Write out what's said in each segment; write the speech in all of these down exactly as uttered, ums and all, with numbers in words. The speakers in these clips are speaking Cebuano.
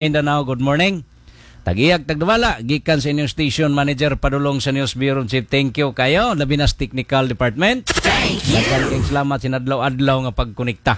Mindanao, good morning. Tag-iyag tagdumala, gikan sa inyong station manager padulong sa News Bureau Chief. Thank you kayo, labi na sa Technical Department. Thank you. Daghan kayong salamat sinadlaw-adlaw nga pagkonekta.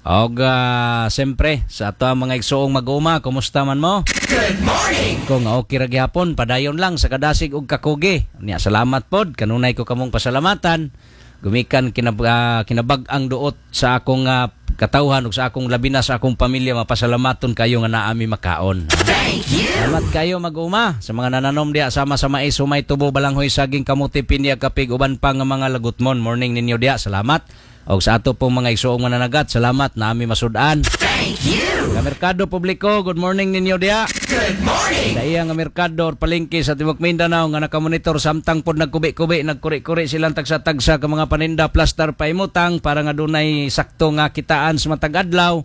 Og uh, siyempre sa ato ang mga igsuong mag-uma, kumusta man mo? Good morning. Kung okay ra gihapon, padayon lang sa kadasig ug kakugi. Nya salamat pod, kanunay ko kamong pasalamatan. Gumikan kinab ah, kinabag-ang duot sa akong ah, katawhan ug sa akong labi na sa akong pamilya mapasalamaton kayo nga naami makaon. Thank you. Salamat kayo mag-uma sa mga nananom diya sama sa mais, humay, tubo, balanghoy, saging, kamuti, pinya, kapig, uban pa nga mga lagutmon. Morning ninyo diya. Salamat. Og sa ato pong mga igsuong mananagat, salamat naami masud-an. Thank you. Nga merkado publiko, good morning ninyo diya. Good morning. Sa iya nga merkado or palengke sa Tibok Mindanao nga nakamonitor samtang pod nagkubi-kubi, nagkuri-kuri silang tagsa-tagsa ka mga paninda plastar paimutang para nga dunay sakto nga kitaan sa matag adlaw.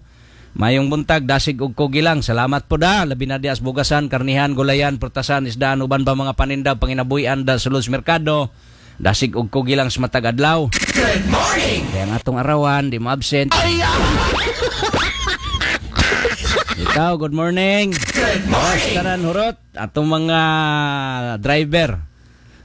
Mayong buntag dasig og kugi lang. Salamat po da. Labi na diya sa bugasan, karnihan, gulayan, prutasan, isdaan uban pa mga paninda panginabuhian da sa sulod sa merkado. Dasig og kugi lang sa matag adlaw. Good morning. Kaya ang atong arawan, di mo absent. Ikaw, good morning. Good morning. Tanan hurot atong mga driver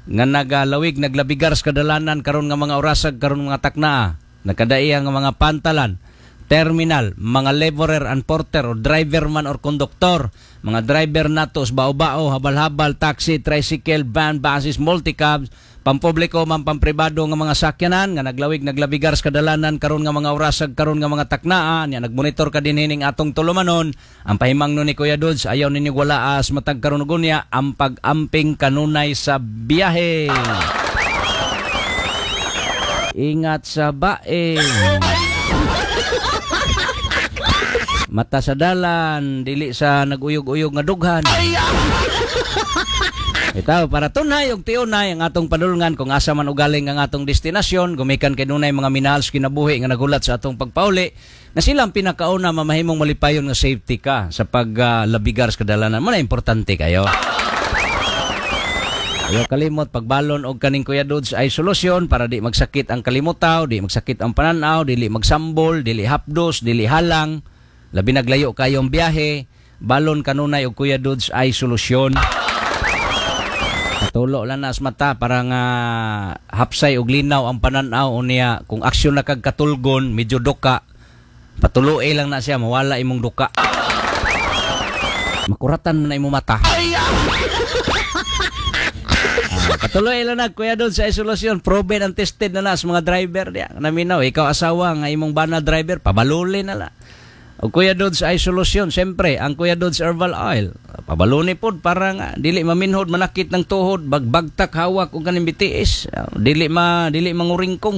nga nagalawig naglabigar sa kadalanan karon nga mga orasag karon mga taknaa nakadaiya nga mga pantalan terminal mga laborer and porter or driver man or konduktor mga driver nato sa bao-bao habal-habal taxi tricycle van buses multicabs pampubliko man pampribado nga mga sakyanan nga naglawig naglabigar sa kadalanan karon nga mga orasag karon nga mga taknaa nya nagmonitor ka din hining atong tulumanon ang pahimangno ni Kuya Dudes ayaw ninyo walaas matag karon ug unya ang pag-amping kanunay sa biyahe ingat sa bae mata sa dalan dili sa naguyog-uyog nga dughan Itaw para tunay ug tiunay ang atong padulngan kung asa man ugaling ang atong destinasyon gumikan kay dunay mga minahal sa kinabuhi nga nagulat sa atong pagpauli na sila ang pinakauna mamahimong malipayon nga safety ka sa paglabigar sa kadalanan mo na importante kayo. Ayaw kalimot pagbalon og kaning Kuya Dudes ay solusyon para di magsakit ang kalimutaw, di magsakit ang pananaw, dili magsambol, dili hapdos, dili halang, labi naglayo kayong biyahe, balon kanunay og Kuya Dudes ay solusyon. Tulo lang na sa mata para nga hapsay og linaw ang pananaw unya kung aksyon na kag katulgon medyo duka patuloy lang na siya mawala imong duka makuratan man na imong mata Ah, patuloy lang na kuya doon sa isolasyon proven and tested na na sa mga driver diya naminaw ikaw asawa nga imong bana driver pabaluli na la o Kuya Dodds ay solusyon siyempre ang Kuya Dodds herbal oil pabaluni pod para nga dili maminhod manakit ng tuhod bagbagtak hawak og kaning BTS Ah, dili ma dili manguringkong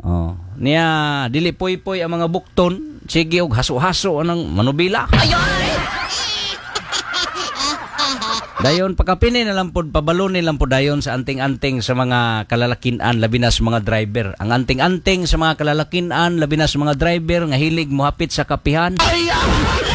oh niya dili poy-poy ang mga bukton sige og haso-haso anang manubila Dayon pakapini na lang pod pabaluni lang pod dayon sa anting-anting sa mga kalalakinan labi na sa mga driver. Ang anting-anting sa mga kalalakinan labi na sa mga driver nga hilig mohapit sa kapihan.